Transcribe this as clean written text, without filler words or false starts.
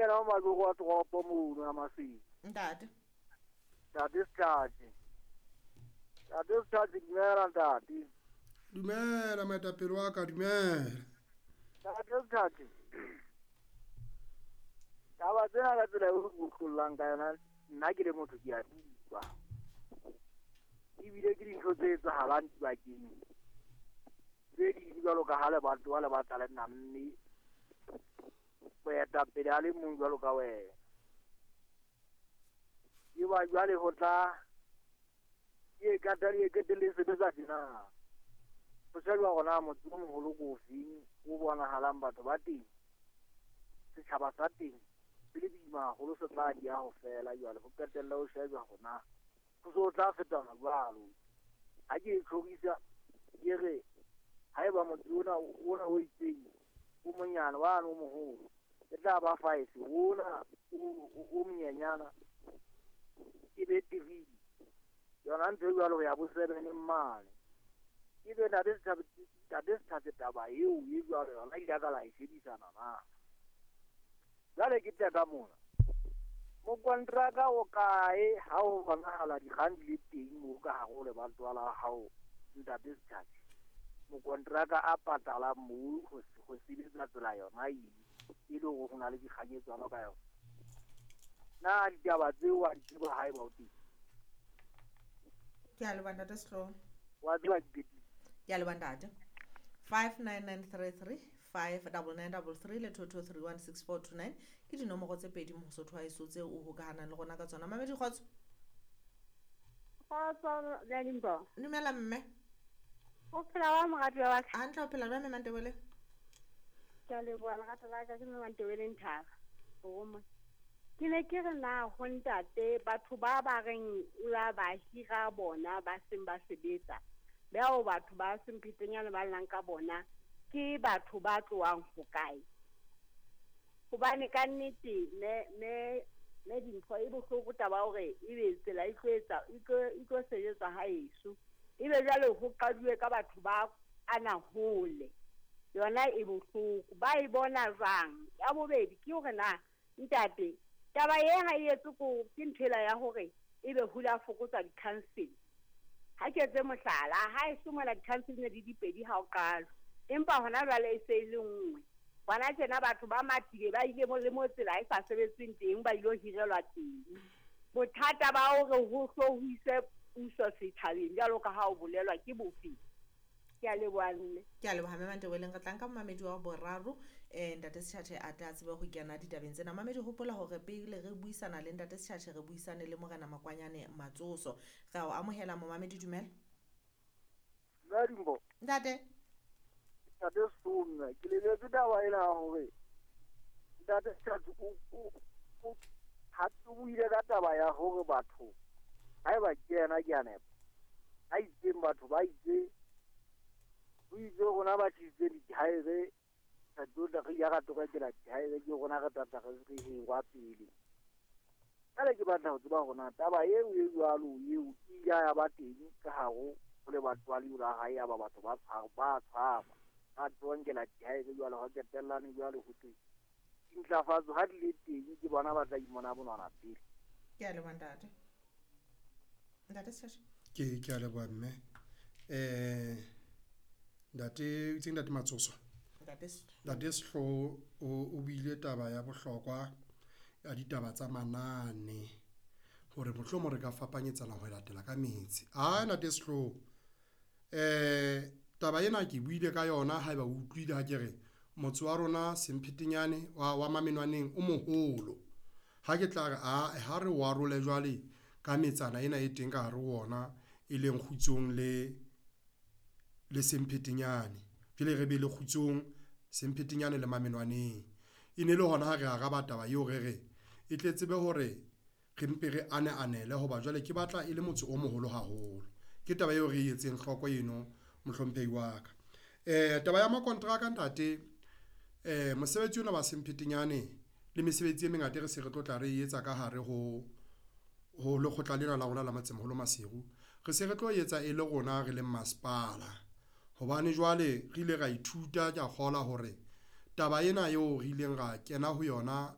kena ho majoro wa toropo mono ya Maseru. Ntate. Ntate Sethathe. Ntate Sethathe, dumela ntate. Dumela moetapele wa ka, dumela. Ntate Sethathe. Taba tsena ka tsela eo o utlollang ka yona, nna ke le motho ke a di utlwa. Ebile ke dintho tse etsahalang dibakeng tse ding jwalo ka ha lebatowa le batla le namme moetapele a le mong jwalo ka wena. Eba jwale ho tla ke kata le qetelle sebetsa tjena. Ho shejwa hore na motse o moholo ke ofeng o bonahalang batho ba teng, setjhaba sa teng se le boima haholo, se tla di ya ho fela. Jwale ho qetelle ho shejwa hore na ho so tla fetana jwalo. Ha ke e tlhorisa ke re haeba motse ona o itseng o monyane wane o moholo e tla ba 5, ona o monyenyana e be 3. Yona ntho e jwalo ho ya bo 7 mane. Ebe ntate Sethathe taba eo e jwalo yona ile ka la e shebisana na. Jwale ke tla ka mona. Mokontraka o kae ha o bonahala dikgang di le teng moo ka hare ho lebatowa la hao ntate Sethathe? Mokontraka a patalang moo ho sebetsa tsela yona e le hore ho na le dikganyetsano ka yona. Na ditaba tseo wa di tseba haeba o teng? Ke a leboha ntate Sehlooho. Wa tseba di. Ke a leboha ntate. 59933 59933 le 22316429 ke dinomoro tse pedi Mosotho wa heso tseo o hokahanang le rona ka tsona. Mamedi kgotso. Kgotso le Limpo. Dumela mme. O phela wa moratuwa wa ka? Hantle, o phela jwang mme Mantebele? Ke a leboha lerato la ka, ke mme Mantebele Nthaba. Roma. Ke ne ke re na ho ntate batho ba ba reng o la ba hira bona ba seng ba sebetsa. Bao batho ba Semphetenyane ba llang ka bona ke batho ba tlohang ho kae? Hobane ka nnete me dintho e bohloko taba ya hore ebe tsela e tlo etsa e tlo sebetsa haeso. Ebe jwale ho qaduwe ka batho ba ana hole. Yona e bohloko. Ba e bona jwang? Ya bobedi ke hore na ntate taba e ha e etse ko ke nthela ya hore ebe hula fokotsa di-council. Ha ke etse mohlala, ha e somola di-council ne di dipedi ha o qala. Empa hona jwale e se e le nngwe. Hona tjena batho ba matile ba ile le mo tsela e sa sebetseng teng ba ilo hirelwa teng. Bothata ba hore ho hlohiswe puso setjhabeng jwalo ka ha o bolelwa ke bofe? Ke a leboha mme. Ke a leboha mme Mantebeleng. Re tla nka momamedi wa boraro ntate Sethathe a tla tsebe ho kena ditabeng tsena. Mamedi, hopola hore pele re buisana le ntate Sethathe re buisane le Morena Makwanyane Matsoso. Re a o amohela momamedi, dumela. Limpo. Ntate. Ntate Sehlooho, ke lebetse taba ena ya hore ntate Sethathe o ha o buile ka taba ya hore batho haeba ke yena ke a nepa. Ha itseng batho ba itse o itse rona ba tlisitse dithaere re tlo tla re ya ra tokela dithaere ke rona re tla tla re hirwa pele. Jwale ke batla ho tseba hore na taba eo e jwalo eo e ile ya ba teng ka hare ho lebatowa leo la hae ya ba batho ba tshwarwa ba tlonkela dithaere jwale ho qetellane jwale ho teng dintlafatso ha di le teng ke bona ba tla imona bonwana pele. Ke a leboha ntate. Ntate Sethathe. Ke a leboha mme. Ntate itseng ntate Matsoso. Ntate Sehlooho o buile taba ya bohlokwa ya ditaba tsa manane hore mohlomong re ka fapanyetsana ho latela ka metse. Ah ntate Sehlooho, taba ena ke buile ka yona haeba o utlwile ha ke re motse wa rona Semphetenyane wa Mamenwaneng o moholo. Ha ke tla re a ha re o arole jwale ka metsana ena e teng ka hare ho ona e leng Kgutsong le Semphetenyane. Jwale re be le Kgutsong, Semphetenyane le Mamenwaneng. E ne le hona ha re araba taba eo re re e tle tsebe hore re mpe re ane-anele hoba jwale ke batla e le motse o moholo haholo. Ke taba eo re e etseng hloko eno mohlomphehi wa ka. Taba ya makontraka ntate, mosebetsi ona wa Semphetenyane le mesebetsi e mengata re se re tlo tla re etsa ka hare ho lekgotla lena la rona la Motsemoholo Maseru. Re se re tlo etsa e le rona re leng masepala. Hobane jwale re ile ra ithuta ke a kgola hore taba ena eo re ileng ra kena ho yona